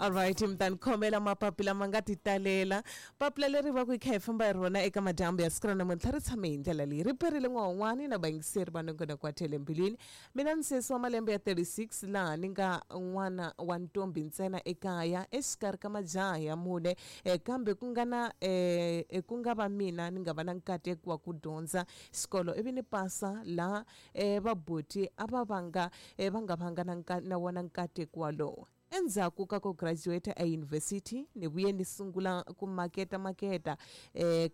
Alright, mi ta ni khomela mapapila ma nga ti talela. Papila leri va ku hi kha hi famba hi rona eka madyambu ya siku ra namuntlha ri tshame hi ndlela leyi. Ri perile n'wahun'wani na vayingiseri va nongonoko wa Tele Mbilwini. Mina ni sesi wa malembe ya 36 laha ni nga n'wana wa ntombhi ntsena ekaya exikarhi ka majaha ya mune kambe ku nga na ku nga va mina ni nga va na nkateko wa ku dyondza xikolo ivi ni pasa laha vabuti a va vanga va nga vanga na na wona nkateko walowo. Endzhaku ka ku graduate eyunivhesiti ni vuye ni sungula ku maketa maketa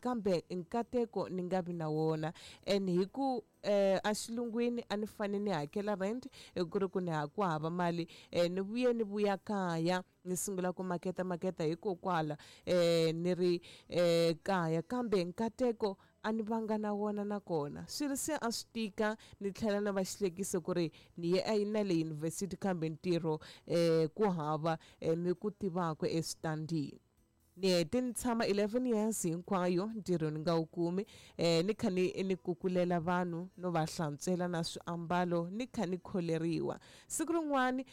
kambe nkateko ni nga vi na wona and hi ku a xilungwini a ni fane ni hakela rent ku ri ku ni ha ku hava mali ni vuye ni vuya kaya ni sungula ku maketa maketa hikokwala ni ri kaya kambe nkateko a ni vanga na wona nakona swilo se a swi tika ni tlhela na va xihlekiso ku ri ni ye na le yunivhesiti kambe ntirho ku hava mi ku tivaka eswitandini. Ni hete ni tshama 11 years hinkwayo ntirho ni nga wu kumi ni kha ni ni kukulela vanhu no va hlantswela na swiambalo ni kha ni kholeriwa. Siku rin'wani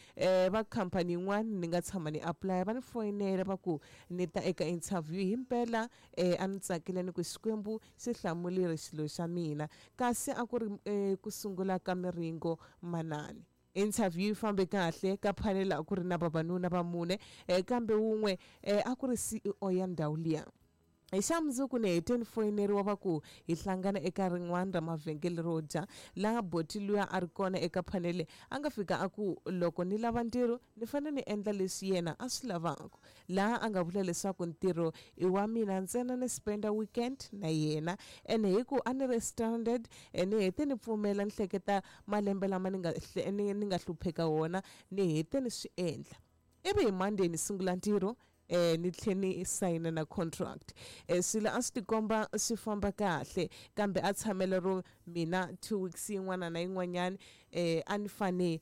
va khampani yin'wana ni nga tshama ni apply va ni foyinela va ku ni ta eka interview himpela a ni tsakile ni ku Xikwembu xi hlamurile xilo xa mina kasi a ku ri ku sungula ka miringo manani. Interview yi fambe kahle ka panel a ku ri na vavanuna va mune kambe wun'we a ku ri CEO ya ndhawu liya. Hi xa mundzuku ni hete ni foyineriwa va ku hi hlangana eka rin'wana ra mavhengele ro dya laha boti luya a ri kona eka phanele a nga fika a ku loko ni lava ntirho ni fanele ni endla leswi yena a swi lavaka laha a nga vula leswaku ntirho i wa mina ntsena ni spenda weekend na yena ene hi ku a ni ri stranded ni hete ni pfumela ni hleketa malembe lama ni nga ni nga hlupheka wona ni hete ni swi endla ivi hi Monday ni sungula ntirho ni tlhe ni sayina na contract. Swilo a swi tikomba swi famba kahle kambe a tshamela ro mina 2 weeks yin'wana na yin'wanyana a ni fane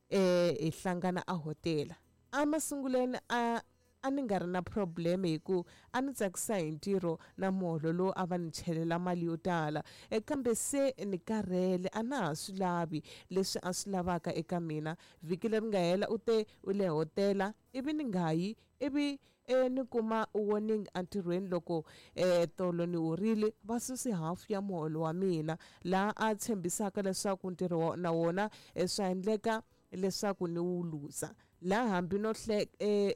hi hlangana a hotela. Emasungulweni a a ni nga ri na problem hi ku a ni tsakisa hi ntirho na muholo lowu a va ni chelela mali yo tala kambe se ni karhele a na ha swi lavi leswi a swi lavaka eka mina. Vhiki leri nga hela u te u le hotela ivi ni nga yi ivi ni kuma warning entirhweni loko tolo ni horile va suse hafu ya muholo wa mina laha a tshembisaka leswaku ntirho na wona swa endleka leswaku ni wu luza laha hambi no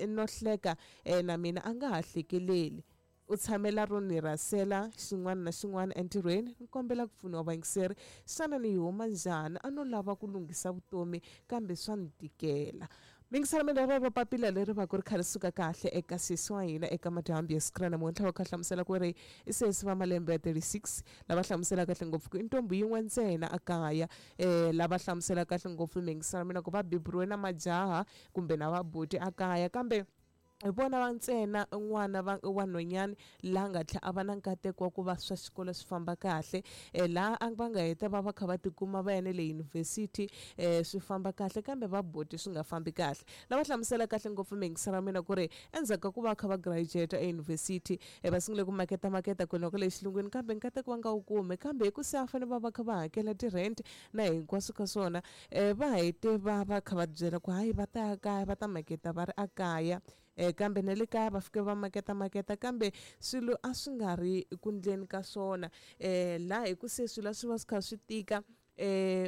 no hleka na mina a nga ha hlekeleli. U tshamela ro ni rhasela xin'wana na xin'wana entirhweni ni kombela ku pfuniwa vayingiseri xana ni yi huma njhani a no lava ku lunghisa vutomi kambe swa ni tikela. Mingisela mina rero papila leri va ku ri kha ri suka kahle eka sesi wa hina eka madyambu ya siku ra namuntlha va kha hlamusela ku ri i sesi va malembe ya 36 lava hlamusela kahle ngopfu ku i ntombi yin'we ntsena a kaya lava hlamusela kahle ngopfu mingisela mina ku va beburiwe na majaha kumbe na vabuti a kaya kambe hi vona va ntsena n'wana va wa nhwanyana laha nga tlhela a va na nkateko wa ku va swa xikolo swi famba kahle laha a va nga heta va va kha va tikuma va ya na le yunivhesiti swi famba kahle kambe va buti swi nga fambi kahle. Lava hlamusela kahle ngopfu miyingiselo ya mina ku ri endzhaku ka ku va kha va graduate eyunivhesiti va sungule ku maketa maketa kwena kwale xilungwini kambe nkateko va nga wu kumi kambe hi ku se a fanele va va kha va hakela ti-rent na hinkwaswo ka swona va hete va va kha va byela ku hayi va ta ya kaya va ta maketa va ri a kaya kambe na le kaya va fike va maketa maketa kambe swilo a swi nga ri ku ndleni ka swona laha hi ku se swilo a swi va swi kha swi tika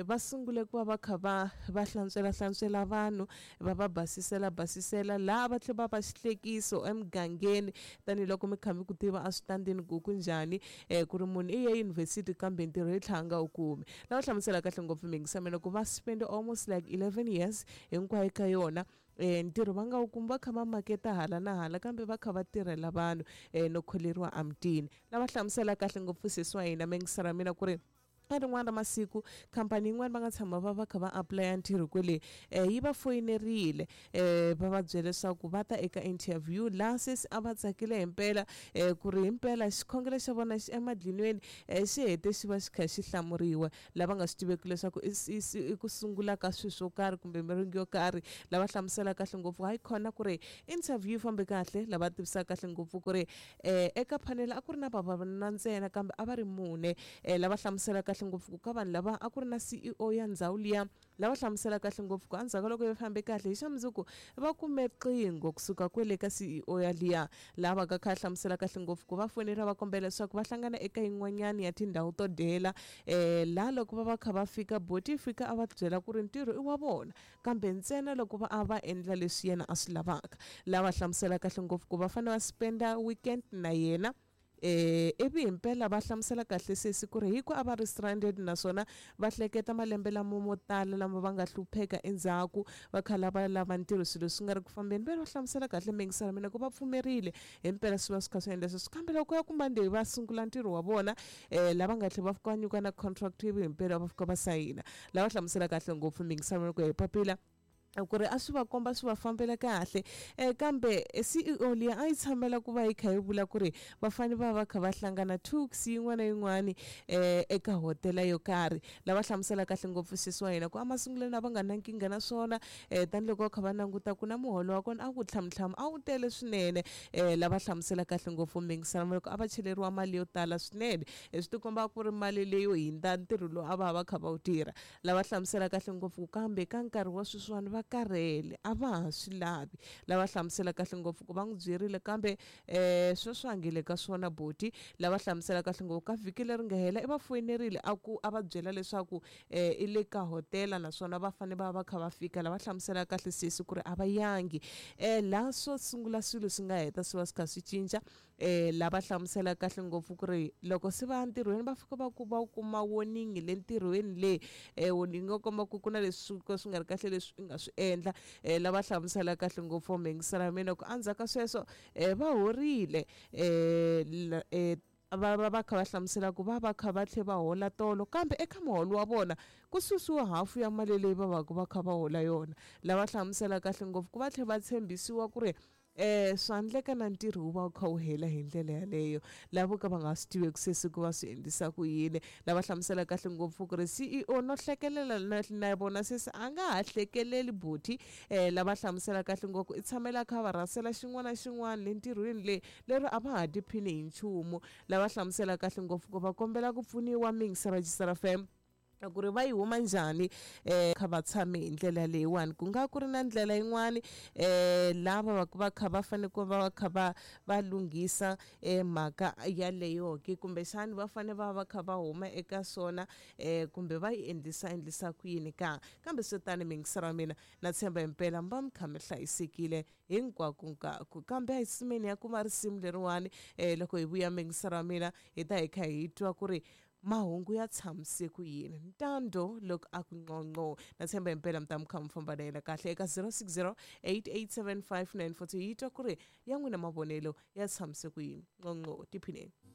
va sungule ku va va kha va va hlantswela hlantswela vanhu va va basisela basisela laha va tlhela va va xihlekiso emugangeni tanihiloko mi kha mi ku tiva eswitandini ku ku njhani ku ri munhu i ye yunivhesiti kambe ntirho yi tlhela a nga wu kumi. Lava hlamusela kahle ngopfu miyingisa mina ku va spend almost like 11 years hinkwayo ka yona ntirho va nga wu kumi va kha va maketa hala na hala kambe va kha va tirhela vanhu no kholeriwa emutini. Lava hlamusela kahle ngopfu sesi wa hina miyingisela ya mina ku ri ka rin'wana ra masiku khampani yin'wana va nga tshama va va kha va apulaya ntirho kwele yi va foyinerile va va byela leswaku va ta eka interview laha sesi a va tsakile himpela ku ri himpela xikhongelo xa vona xi emadlinweni xi hete xi va xi kha xi hlamuriwa lava nga swi tiveki leswaku i ku sungula ka swilo swo karhi kumbe miringo yo karhi lava hlamusela kahle ngopfu hayi khona ku ri interview yi fambe kahle lava tivisaka kahle ngopfu ku ri eka panel a ku ri na vavanuna ntsena kambe a va ri mune lava hlamusela kahle kahle ngopfu ku ka vanhu lava a ku ri na CEO ya ndhawu liya lava hlamusela kahle ngopfu ku endzhaku ka loko yi fambe kahle hi xa mundzuku va kume riqingho kusuka kwele ka CEO ya liya laha va ka kha hlamusela kahle ngopfu ku va fonela va kombela leswaku va hlangana eka yin'wanyana ya tindhawu to dyela laha loko va va kha va fika boti yi fika a va byela ku ri ntirho i wa vona kambe ntsena loko va a va endla leswi yena a swi lavaka lava hlamusela kahle ngopfu ku va fanele va spenda weekend na yena ivi himpela va hlamusela kahle sesi ku ri hi ku a va ri stranded naswona va hleketa malembe lamo mo tala lama va nga hlupheka endzhaku va kha lava lava ntirho swilo swi nga ri ku fambeni ve va hlamusela kahle mingisela mina ku va pfumerile himpela swi va swi kha swi endla sweswo kambe loko ya ku Monday va sungula ntirho wa vona lava nga tlhela va fika va nyika na contract ivi himpela va fika va sayina lava hlamusela kahle ngopfu mingisela mina ku hi papila ku ri a swi va komba swi va fambela kahle kambe CEO liya a yi tshamela ku va yi kha yi vula ku ri va fanele va va kha va hlangana tuks yin'wana na yin'wana eka hotela yo karhi lava hlamusela kahle ngopfu sesi wa hina ku emasungulweni a va nga na nkingha na swona tanihiloko va kha va languta ku na muholo wa kona a ku tlhamutlhamu a wu tele swinene lava hlamusela kahle ngopfu mingisana loko a va cheleriwa mali yo tala swinene swi tikomba ku ri mali leyo hundza ntirho lowu a va va kha va wu tirha lava hlamusela kahle ngopfu kambe ka nkarhi wa sweswiwani va karhele a va ha swi lavi lava hlamusela kahle ngopfu ku va n'wi byerile kambe sweswi a nge le ka swona boti lava hlamusela kahle ngopfu ka vhiki leri nga hela i va foyinerile a ku a va byela leswaku i le ka hotela naswona va fanele va va kha va fika lava hlamusela kahle sesi ku ri a va yangi laha swo sungula swilo swi nga heta swi va swi kha swi cinca lava hlamusela kahle ngopfu ku ri loko se va ya ntirhweni va fika va ku va kuma warning le ntirhweni le warning yo komba ku ku na leswi ka swi nga ri kahle leswi i nga swi endla lava hlamusela kahle ngopfu mingisela mina ku endzhaku ka sweswo va horile va va va kha va hlamusela ku va va kha va tlhe va hola tolo kambe eka muholo wa vona ku susiwa hafu ya mali leyi va va ku va kha va hola yona lava hlamusela kahle ngopfu ku va tlhe va tshembisiwa ku ri swa endleka na ntirho wu va wu kha wu hela hi ndlela yaleyo lavo ka va nga swi tiveki se ku va swi endlisa ku yini lava hlamusela kahle ngopfu ku ri CEO no hlekelela na vona sesi a nga ha hlekeleli buti lava hlamusela kahle ngopfu i tshamela kha va rhasela xin'wana na xin'wana le ntirhweni le lero a va ha tiphini hi nchumu lava hlamusela kahle ngopfu ku va kombela ku pfuniwa mingisa rejistara fm ku ri va yi huma njhani kha va tshame hi ndlela leyiwani ku nga ku ri na ndlela yin'wani lava va va kha va fanele ku va kha va va lunghisa mhaka yaleyo ke kumbexani va fanele va va kha va huma eka swona kumbe va yi endlisa endlisa ku yini ka kambe swi tani mingisero wa mina na tshemba himpela mi va mi kha mi hlayisekile hinkwakunkaku kambe a hi tsutsumeni ya kuma risimu leriwani loko hi vuya mingisero wa mina hi ta hi kha hi twa ku ri mahungu ya tshamise ku yini ntando loko a ku nqonqo na tshemba himpela mi ta mi kha mi famba na yena kahle eka 060 887 5942 yi twa ku ri ya n'wina mavonelo ya tshamise ku yini nqonqo tiphineni.